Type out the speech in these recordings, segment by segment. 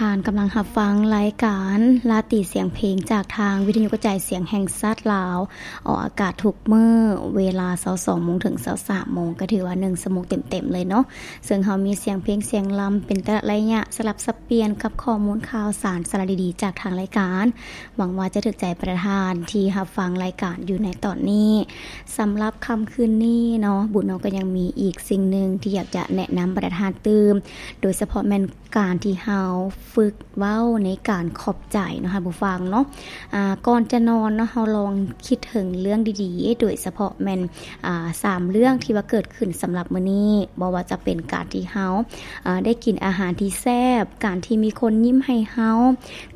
ທ່ານກຳລັງຮັບຟັງລາຍການລາຕີສຽງເພງ ຈາກທາງວິທະຍຸກະຈາຍສຽງແຫ່ງຊາດລາວ, ອອກອາກາດທຸກມື້ເວລາຊາວສອງໂມງເຖິງຊາວສາມໂມງ, ກໍຖືວ່າໜຶ່ງຊົ່ວໂມງເຕັມໆເລີຍເນາະ. ເຊິ່ງເຮົາມີສຽງເພງສຽງລຳເປັນແຕ່ລະໄລຍະ ສະຫຼັບສັບປ່ຽນກັບຂໍ້ມູນຂ່າວສານ ສາລະດີໆຈາກທາງລາຍການ. ຫວັງວ່າຈະຖືກໃຈປະທານທີ່ຮັບຟັງລາຍການຢູ່ໃນຕອນນີ້. ສຳລັບຄ່ຳຄືນນີ້ເນາະ, ບຸນເນາະ ກໍຍັງມີອີກສິ່ງໜຶ່ງທີ່ຢາກຈະແນະນຳປະທານຕື່ມ, ໂດຍສະເພາະແມ່ນ ການທີ່ເຮົາຝຶກເວົ້າໃນການຂອບໃຈເນາະ ທ່ານຜູ້ຟັງເນາະ. ອາ ກ່ອນຈະນອນເນາະ, ເຮົາລອງຄິດເຖິງເລື່ອງດີໆ, ໂດຍສະເພາະແມ່ນ ອາ ສາມເລື່ອງທີ່ວ່າເກີດຂຶ້ນສຳລັບມື້ນີ້, ບໍ່ວ່າຈະເປັນການທີ່ເຮົາ ອາ ໄດ້ກິນອາຫານທີ່ແຊບ, ການທີ່ມີຄົນຍິ້ມໃຫ້ເຮົາ,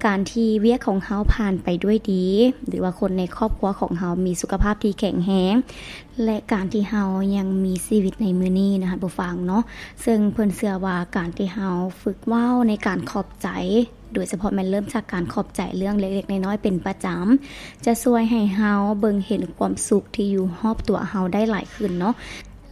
ການທີ່ວຽກຂອງເຮົາຜ່ານໄປດ້ວຍດີ, ຫຼືວ່າຄົນໃນຄອບຄົວຂອງເຮົາມີສຸຂະພາບທີ່ແຂງແຮງ, ແລະ ການທີ່ເຮົາຍັງມີຊີວິດໃນມື້ນີ້ນະ ທ່ານຜູ້ຟັງເນາະ. ເຊິ່ງເພິ່ນເຊື່ອວ່າການທີ່ເຮົາຝຶກເວົ້າໃນການຂອບໃຈ, ໂດຍສະເພາະແມ່ນເລີ່ມຈາກການຂອບໃຈເລື່ອງເລັກໆນ້ອຍໆເປັນປະຈຳ, ຈະຊ່ວຍໃຫ້ເຮົາເບິ່ງເຫັນຄວາມສຸກທີ່ຢູ່ຮອບຕົວເຮົາໄດ້ຫຼາຍຂຶ້ນເນາະ.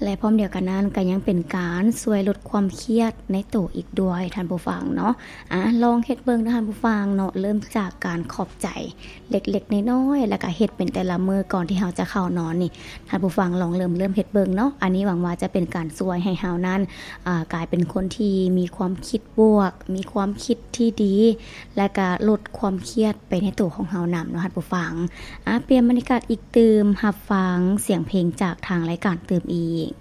ແລະ ພ້ອມດຽວກັນນັ້ນກໍຍັງເປັນການຊ່ວຍລົດຄວາມຄຽດໃນໂຕອີກດ້ວຍ ທ່ານຜູ້ຟັງເນາະ. ອາ ລອງເຮັດເບິ່ງເນາະ ທ່ານຜູ້ຟັງເນາະ, ເລີ່ມຈາກການຂອບໃຈ ເລັກໆນ້ອຍໆ ແລ້ວກະເຮັດເປັນແຕ່ລະມື້ກ່ອນທີ່ເຮົາຈະເຂົ້ານອນນີ້, ທ່ານຜູ້ຟັງລອງເລີ່ມ ເລີ່ມເຮັດເບິ່ງເນາະ. ອັນນີ້ຫວັງວ່າຈະເປັນການຊ່ວຍໃຫ້ເຮົານັ້ນ ອາ ກາຍເປັນຄົນທີ່ມີຄວາມຄິດບວກ, ມີຄວາມຄິດທີ່ດີ, ແລະກະລົດຄວາມຄຽດໄປໃນໂຕຂອງເຮົານຳເນາະ ທ່ານຜູ້ຟັງ. ອາ ປ່ຽນບັນຍາກາດອີກຕື່ມ, ຮັບຟັງສຽງເພງຈາກທາງລາຍການຕື່ມອີກ.